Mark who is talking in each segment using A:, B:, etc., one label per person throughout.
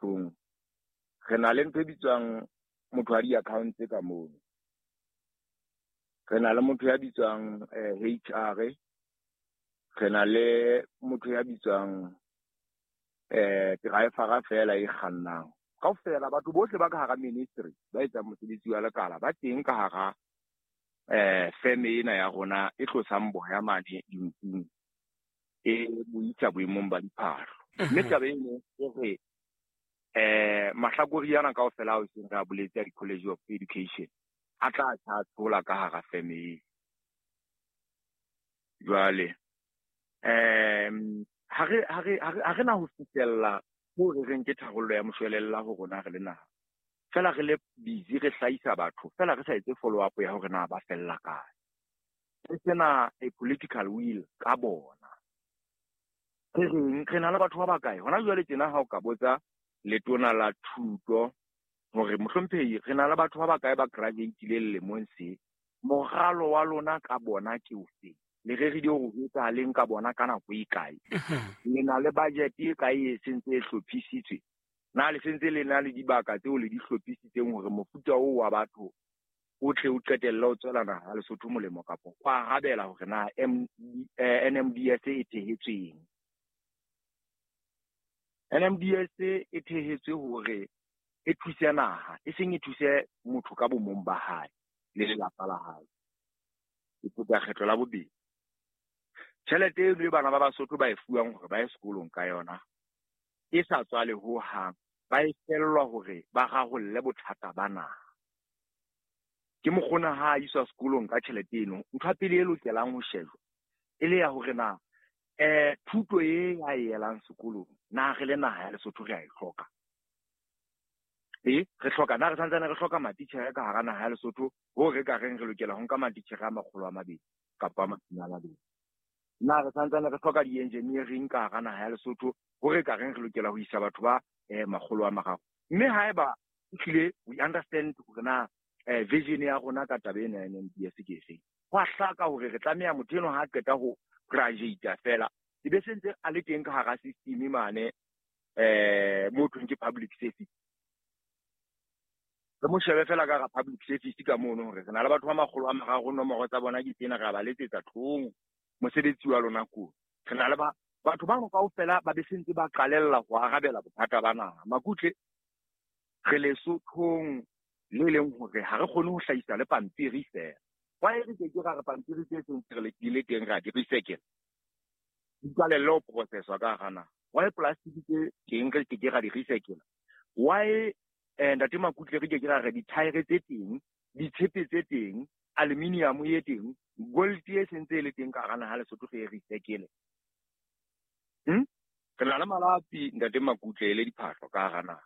A: diphahlong, re na le ntho e bitswang motho wa di-accounts ka mono. Re na le motho ya bitswang HR, re na le motho ya bitswang driver fela e kgannang. Kaofela batho bohle ba ka hara ministry ba etsang mosebetsi wa lekala ba teng ka hara firm ena ya rona e tlosang boya mane dinkung e bo isa boemong ba diphahlo. Mme taba eno e re mahlakori ana kaofela ao seng re a boletse a di-College of Education a tla tshola ka hara firm e. Jwale ha re na ho fihlella ho re reng ke tharollo ya moshwelella ho rona re le naha. Fela re le busy re hlahisa batho, fela re sa etse follow up ya hore na ba fella kae. Re sena a political will ka bona. Re reng re na le batho ba bakae? Hona jwale tjena ha o ka botsa letona la thuto hore mohlomphehi re na le batho ba bakae ba graduate-ileng lemong se, moralo wa lona ka bona ke ofe? Le rerile hore ho etsahaleng ka bona ka nako e kae? Le na le budget e kae e sentse e hlophisitswe? Na le sentse le na le dibaka tseo le di hlophisitseng hore mofuta oo wa batho o tle o qetelle o tswela naha ya Lesotho molemo kapa o arabela hore na NMDS e thehetsweng? NMDS e thehetswe hore e thuse naha, e seng e thuse motho ka bomong ba hae le lelapa la hae. E pheta kgetlo la bobedi. Tjhelete eno e bana ba Basotho ba e fuwang hore ba ye sekolong ka yona e sa tswale ho hang, ba e fellwa hore ba rarolle bothata ba naha. Ke mokgona ha a iswa sekolong ka tjhelete eno, ntho ya pele e lokelang ho shejwa e le ya hore na thuto e ya e elang sekolong na re le naha ya Lesotho re a e hloka. Re hloka na re santsane re hloka matitjhere ka hara naha ya Lesotho ho re ka reng re lokela ho nka matitjhere a 200 kapa a 20. Na re santsane re hloka di-engineering ka hara naha ya Lesotho ho re ka reng re lokela ho isa batho ba 300. Mme haeba ehlile we understand hore na vision ya rona ka taba ena ya NMDS ke efeng, ho a hlaka hore re tlameha motho eno ha a qeta ho graduate fela e be sentse a le teng ka hara system mane mo thweng ke public service. Re mo shebe fela ka hara public service ka mono hore re na le batho ba 300, nomoro tsa bona ke tsena, re a ba letsetsa tlong mosebetsi wa lona ko. Re na le ba batho bano kaofela ba be sentse ba qalella ho arabela bothata ba naha. Makutle re Lesothong le leng hore ha re kgone ho hlahisa le pampiri fela. Why re ke ke ra re pampiri tse seng re di le teng ra di recycle? Di qalelle ho processwa ka hara naha. Why plastic tse teng re ke ke ra di recycle? Why ntate Makutle re ke ke ra re dithaere tse teng, ditshepe tse teng, aluminium e teng, gold e sentse e le teng ka hara naha Lesotho re e recycle? Re na le malapi ntate Makutle le diphahlo ka hara naha.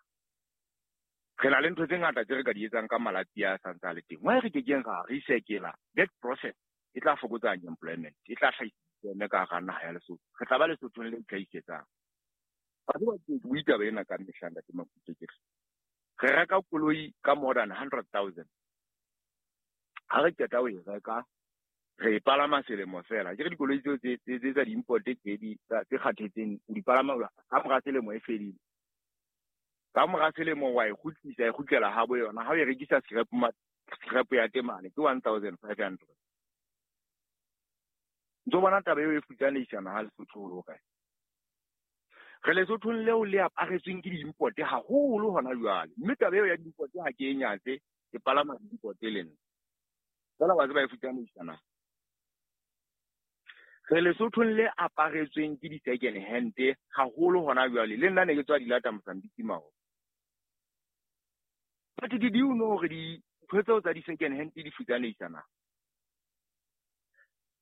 A: Re na le ntho tse ngata tse re ka di etsang ka malapi a santse a le teng. Why re ke keng ra recycle? That process e tla fokotsa unemployment, e tla hlahisa employment ka hara naha ya Lesotho. Re tla ba Lesothong le itlhahisetsang. Ba tseba ke bue taba ena ka mehla ntate Makutle ke re reka koloi ka more than 100,000. Ha re qeta ho e reka, re e palama selemo fela. Ke re dikoloi tseo tse tsa di-import tse tse kgathetseng, o di palama ka mora selemo e fedile. Ka mora selemo wa e kgutlisa, e kgutlela ha bo yona. Ha o e rekisa scrap ya temane ke 1,500. Ntso bona taba eo e futsanehisa naha Lesotho ho le hokae? Re Lesothong leo le aparetsweng ke di-import haholo hona jwale. Mme taba eo ya di-import ha ke e nyatse, ke palama di-import le nna. Fela wa tseba e futsanehisa naha. Re Lesothong le aparetsweng ke di-second hand haholo hona jwale. Le nna ne ke tswa di lata Mozambique maoba. But did you know hore dintho tseo tsa di-second hand di futsanehisa naha?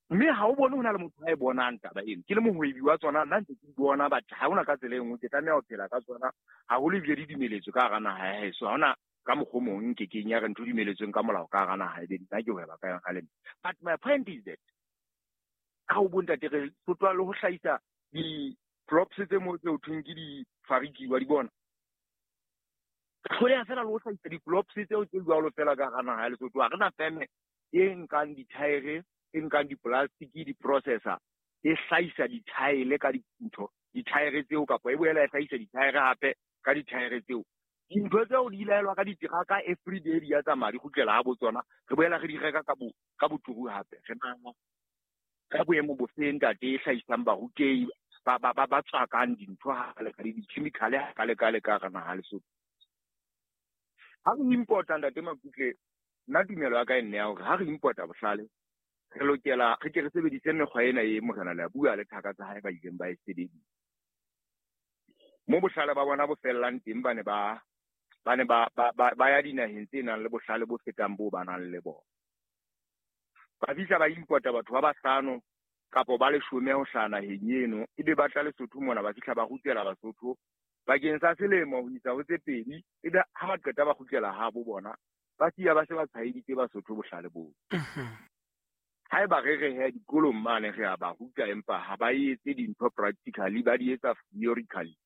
A: Mme ha o bone ho na le motho a e bonang taba eno. Ke le mohwebi wa tsona, nna ntse ke di bona, but ha hona ka tsela e nngwe ke tlameha ho phela ka tsona. Haholo ebile di dumeletswe ka hara naha ya heso. Ha hona ka mokgwa o mong nke keng ya re ntho dumeletsweng ka molao ka hara naha ebe nna ke hweba ka yona le nna. But my point is that ka ho bontate re sotlwa le ho hlahisa di-props tse mo tse ho thweng ke di-fariki wa di bona. Hloleha fela le ho hlahisa di-props tseo tse jwalo fela ka hara naha ya Lesotho. Ha re na feme e nkang dithaere, e nkang di-plastic, di-processor, e hlahisa dithaele ka dintho, dithaere tseo kapa e boela e hlahisa dithaere hape ka dithaere tseo. Dintho tseo di laelwa ka diteraka every day di ya tsamaya di kgutlela ha bo tsona. Re boela re di reka ka boturu hape. Re nahana ka boemo bofe ntate e hlahisang barutehi ba tswakang dintho ha le ka di-chemical ha ka le ka le ka hara naha Lesotho. Ha re importa ntate Makutle, nna tumelo ya ka e nne ya hore ha re importa bohlale, re lokela re ke re sebedise mekgwa ena e Morena le a bua le thaka tsa hae ba ileng ba e sebedisa. Mo bohlale ba bona bo fellang teng ba ne ba ya dinaheng tse nang le bohlale bo fetang bo ba nang le bona. Ba fihla ba importa batho ba bahlano kapo ba leshome ho hlaha naheng eno, ebe ba tla Lesotho mona ba fihla ba rutela Basotho bakeng sa selemo ho isa ho tse pedi, ebe ha ba qeta ba kgutlela habo bona, ba siya ba se ba tshwaeditse Basotho bohlale boo. Haeba re re he dikolong mane re a ba ruta empa ha ba etse dintho practically, ba di etsa theoretically.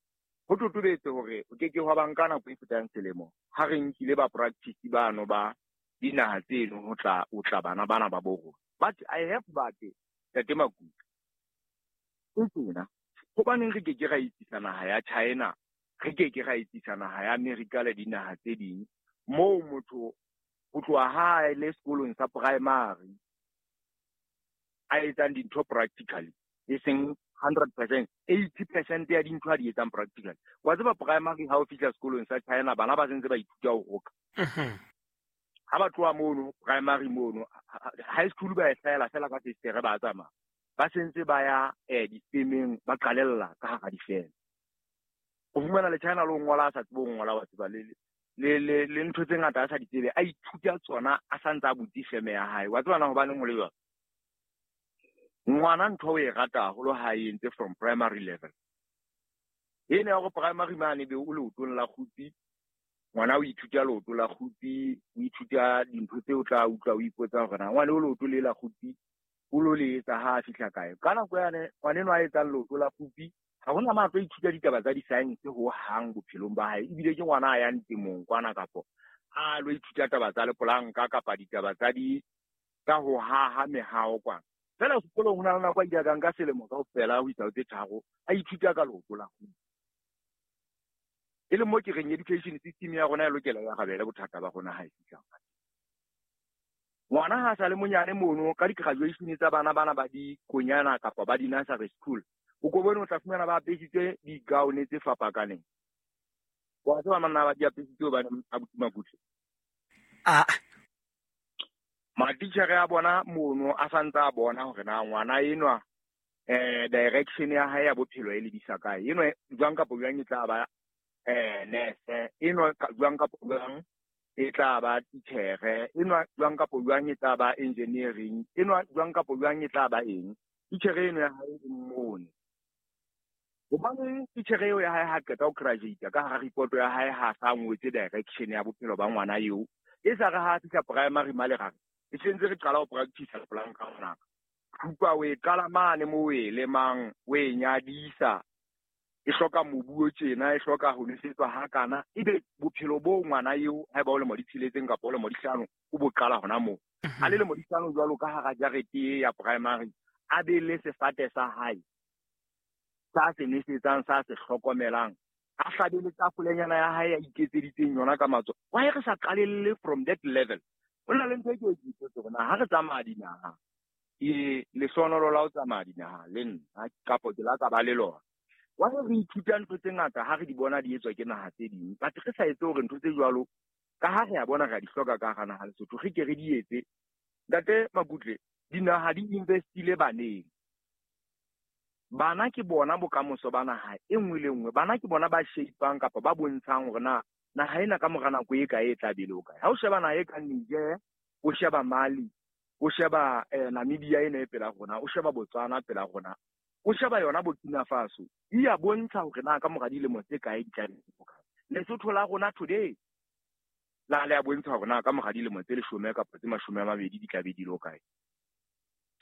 A: Ho totobetse hore o ke ke hwa ba nka nako e fetang selemo ha re nkile ba practice bano ba dinaha tseno ho tla o tla bana bana ba bo rona. But I have but Ntate Makutle, e tjena, hobaneng re ke ke ra etsisa naha ya China, re ke ke ra etsisa naha ya America le dinaha tse ding, moo motho ho tloha ha a le sekolong sa primary a etsang dintho practically, e seng 100%, 80% ya dintho a di etsang practically. Wa tseba primary ha o fihla sekolong sa China, bana ba sentse ba ithuta ho roka. Ha ba tloha mono primary mono, high school ba e hlahela fela ka festere ba tsamaya. Ba sentse ba ya difemeng, ba qalella ka hara difeme. O fumana le China le ho ngola a sa tsebe ho ngola, wa tseba le ntho tse ngata a sa di tsebe, a ithuta tsona a sa ntse a butse feme ya hae. Wa tseba na hobaneng ho le jwalo? Ngwana ntho o e rata haholo ha e entse from primary level. Ena ya hore primary mane be o leotong la kgutsi, ngwana o ithuta leoto la kgutsi, o ithuta dintho tse o tla utlwa o ipotsa hore na ngwana o leoto le la kgutsi o lo le etsa ha a fihla kae. Ka nako yane ngwana enwa a etsang leoto la kgutsi ha hona ma tlo ithuta ditaba tsa di-science ho hang bophelong ba hae, ebile ke ngwana a yang temong kwana kapo a lo ithuta taba tsa lepolanka kapa ditaba tsa di tsa ho haha mehao kwana. Fela sekolong ho na le nako a ile ka nka selemo kaofela ho isa ho tse tharo a ithuta ka leoto la kgutsi. E le mo ke reng education system ya rona e lokela ya rabele bothata ba rona ha e fihla. Ngwana ha sa le monyane mono ka di-graduation tsa bana bana ba dikonyana kapa ba di-nursery school, o ko bone o tla fumana ba apesitse di-gown tse fapakaneng. Wa tseba manna ba di apesitse hobane abuti Makutle. Matitjhere a bona mono a santse a bona hore na ngwana enwa direction ya hae ya bophelo e lebisa kae. Enwa jwang kapa jwang e tla ba nurse, enwa jwang kapa jwang e tla ba titjhere, enwa jwang kapa jwang e tla ba engineering, enwa jwang kapa jwang e tla ba eng. Titjhere eno ya hae e mmone. Hobane titjhere eo ya hae ha qeta ho graduate ka hara report ya hae ha sa ngwetse direction ya bophelo ba ngwana eo, e sa re ha fihla primary male ra re e sentse re qala ho practice lepolanka ngwanaka. Thupa o e qala mane mo o e lemang, o e nyadisa, e hloka mobu o tjena, e hloka ho nwesetswa hakana, ebe bophelo bo ngwana eo haeba o lemo di tsheletseng kapa o lemo di hlano, o bo qala hona moo. A le lemo di hlano jwalo ka hara jarete ya primary, a be le sefate sa hae sa se nwesetsang, sa se hlokomelang, a hlabe le tafolenyana ya hae ya iketseditseng yona ka matsoho. Why re sa qalelle from that level? Ho na le ntho e ke e ipotse hore na ha re tsamaya dinaha, ke lehlohonolo la ho tsamaya dinaha le nna kapo ke la ka ba le lona. Why re ithuta ntho tse ngata ha re di bona di etswa ke naha tse ding, but re sa etse hore ntho tse jwalo ka ha re a bona re a di hloka ka hara naha Lesotho, re ke re di etse. Ntate Makutle, dinaha di investile baneng. Bana ke bona bokamoso ba naha e nngwe le nngwe. Bana ke bona ba shapeang kapa ba bontshang hore na naha ena ka mora nako e kae e tla be le ho kae. Ha o sheba naha e kang Niger, o sheba Mali, o sheba Namibia ena e pela rona, o sheba Botswana pela rona, o sheba yona Burkina Faso, di a bontsha hore na ka mora dilemo tse kae di tla be le ho kae. Lesotho la rona today la le a bontsha hore na ka mora dilemo tse 10 kapa tse 20 di tla be di le ho kae.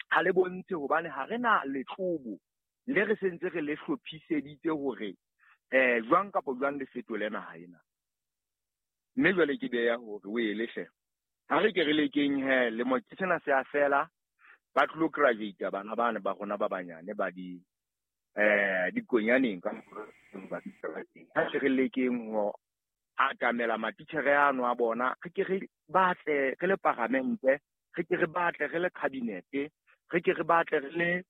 A: Ha le bontshe hobane ha re na letlobo le re sentse re le hlophiseditse hore jwang kapa jwang le fetole naha ena. Mme jwale ke beya hore o e lehle. Ha re ke re lekeng he lemo ke sena se a fela, ba tlo graduate bana bana ba rona ba banyane ba di dikonyaneng ka Ha se re lekeng ho atamela matitjhere ano a bona, re ke re batle re le paramente, re ke re batle re le cabinet, re ke re batle re le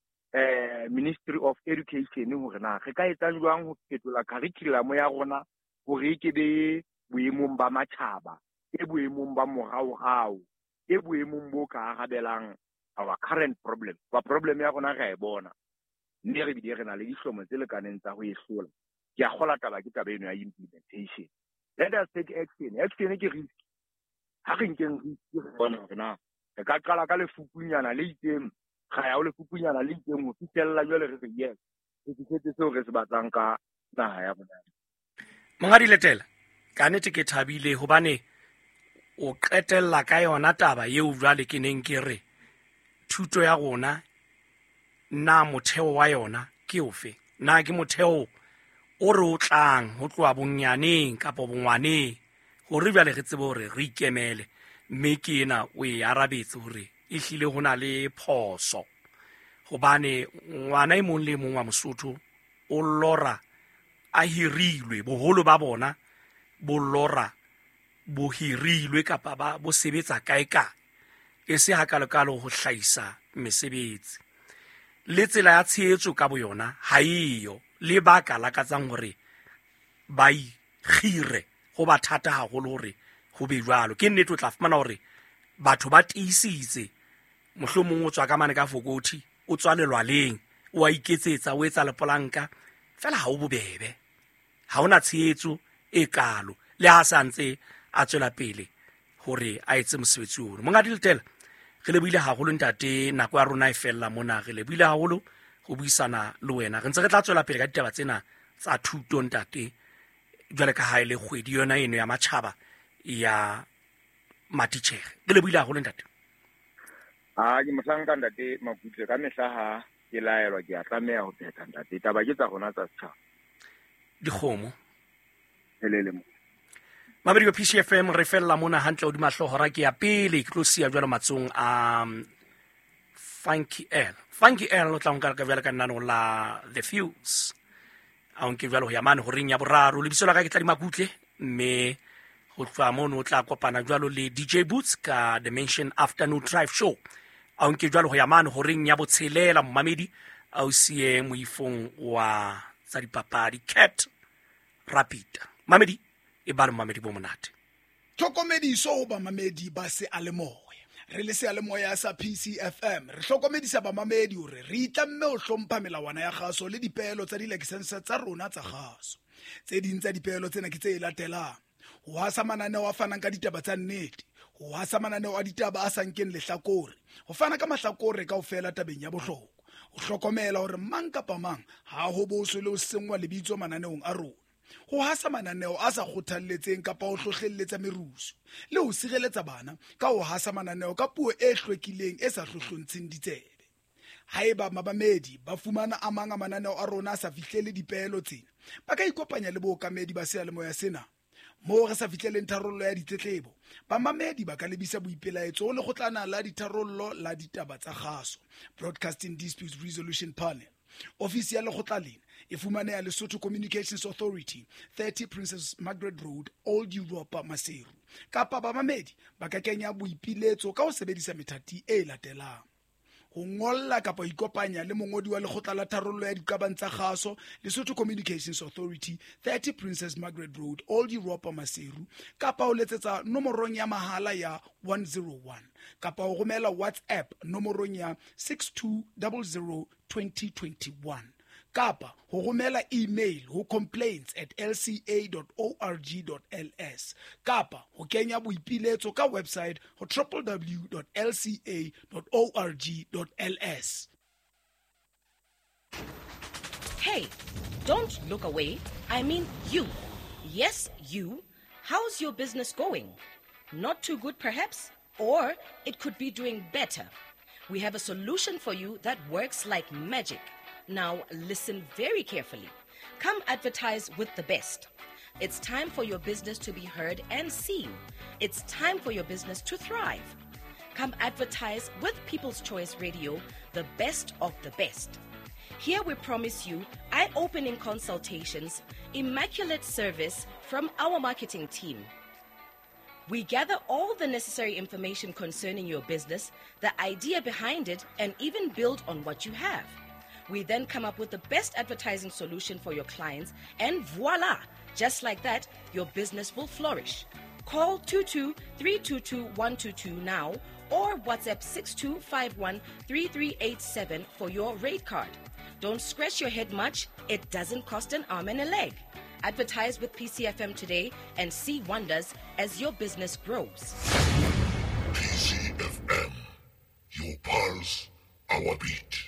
A: Ministry of Education hore na re ka etsa jwang ho fetola curriculum ya rona hore e ke be boemong ba matjhaba, e boemong ba moraorao, e boemong bo ka arabelang our current problem. Ba problem ya rona re a e bona, mme re bile re na le dihlomo tse lekaneng tsa ho e hlola. Ke a kgola taba ke taba eno ya implementation. Let us take action. Action ke risk. Ha re nkeng risk re bone hore na re ka qala ka lefukunyana le itseng, ra ya ho lefukunyana le itseng ho fihlella jwale re re yes, re fihletse seo re se batlang ka naha ya rona.
B: Monghadi Letela, ka nnete ke thabile hobane o qetella ka yona taba eo jwale ke neng ke re thuto ya rona na motheo wa yona ke ofe? Na ke motheo o re o tlang ho tloha bonyaneng kapa bongwaneng hore jwale re tsebe hore re ikemele, mme ke ena o e arabetse hore ehlile ho na le phoso hobane ngwana e mong le mong wa Mosotho o lora a hirilwe, boholo ba bona bo lora bo hirilwe kapa ba bo sebetsa kae kae, e se hakalokalo ho hlahisa mesebetsi. Le tsela ya tshehetso ka boyona ha eyo, le ba ka lakatsang hore ba ikgire ho ba thata haholo hore ho be jwalo. Ke nnete o tla fumana hore batho ba tiisitse, mohlomong o tswa ka mane ka Fokothi, o tswa lelwaleng, o a iketsetsa, o etsa lepolanka, fela ha o bobebe, ha hona tshehetso e kalo le ha sa ntse a tswela pele hore a etse mosebetsi ono. Monghadi Letela, re lebohile haholo ntate, nako ya rona e fella mona, re lebohile haholo ho buisana le wena. Re ntse re tla tswela pele ka ditaba tsena tsa thuto ntate, jwale ka ha e le kgwedi yona eno ya matjhaba ya matitjhere. Re lebohile haholo ntate.
A: A ke mohlanka ntate Makutle, ka mehla ha ke laelwa ke a tlameha ho phetha ntate. Taba ke tsa rona tsa setjhaba.
B: Dikgomo.
A: Helele mo.
B: Mamedi wa PCFM, re fella mona hantle hodima hlooho hora ke ya pele, ke tlo siya jwalo matsong a Funky L. Funky L o tla nka ka jwalo ka lenaneo la The Fuse. A o nke jwalo ho ya mane horeng ya boraro. Lebitso la ka ke Tladi Makutle, mme ho tloha mono o tla kopana jwalo le DJ Boots ka Dimension Afternoon Drive Show. A o nke jwalo ho ya mane horeng ya botshelela, momamedi, a o siye moifong wa tsa dipapadi Cat Rapida. Mamedi, e ba le momamedi bo monate.
C: Tlhokomediso ho bamamedi ba seyalemoya. Re le seyalemoya sa PCFM, re hlokomedisa bamamedi hore re itlamme ho hlompha melawana ya kgaso le dipeelo tsa dilakesense tsa rona tsa kgaso. Tse ding tsa dipeelo tsena ke tse latelang: ho hasa mananeo a fanang ka ditaba tsa nnete, ho hasa mananeo a ditaba a sa nkeng lehlakore, ho fana ka mahlakore kaofela tabeng ya bohlokwa, ho hlokomela hore mang kapa mang ha ho boswe le ho senngwa lebitso mananeong a rona, ho hasa mananeo a sa kgothalletseng kapa ho hlohlelletsa merusu, le ho sireletsa bana ka ho hasa mananeo ka puo e hlwekileng e sa hlohlontsheng ditsebe. Haeba mamamedi ba fumana a mang a mananeo a rona a sa fihlele dipeelo tsena, ba ka ikopanya le bookamedi ba seyalemoya sena. Moo re sa fihleleng tharollo ya ditletlebo, bamamedi ba ka lebisa boipelaetso ho lekgotlana la ditharollo la ditaba tsa kgaso, Broadcasting Disputes Resolution Panel. Ofisi ya lekgotla lena e fumaneha Lesotho Communications Authority, 30 Princess Margaret Road, Old Europa, Maseru. Kapa bamamedi ba ka kenya boipiletso ka ho sebedisa methati e latelang: ho ngolla kapa ho ikopanya le mongodi wa lekgotla la tharollo ya diqabang tsa kgaso, Lesotho Communications Authority, 30 Princess Margaret Road, Old Europa, Maseru, kapa ho letsetsa nomorong ya mahala ya 101, kapa ho romela WhatsApp nomorong ya 6200 2021, kapa ho romela email ho complaints@lca.org.ls, kapa ho kenya boipiletso ka website ho www.lca.org.ls.
D: Hey, don't look away. I mean you. Yes, you. How's your business going? Not too good, perhaps? Or it could be doing better. We have a solution for you that works like magic. Now, listen very carefully. Come advertise with the best. It's time for your business to be heard and seen. It's time for your business to thrive. Come advertise with People's Choice Radio, the best of the best. Here we promise you eye opening consultations, immaculate service from our marketing team. We gather all the necessary information concerning your business, the idea behind it, and even build on what you have. We then come up with the best advertising solution for your clients, and voila! Just like that, your business will flourish. Call 22 322 122 now or WhatsApp 6251 3387 for your rate card. Don't scratch your head much, it doesn't cost an arm and a leg. Advertise with PCFM today and see wonders as your business grows.
E: PCFM, your pulse, our beat.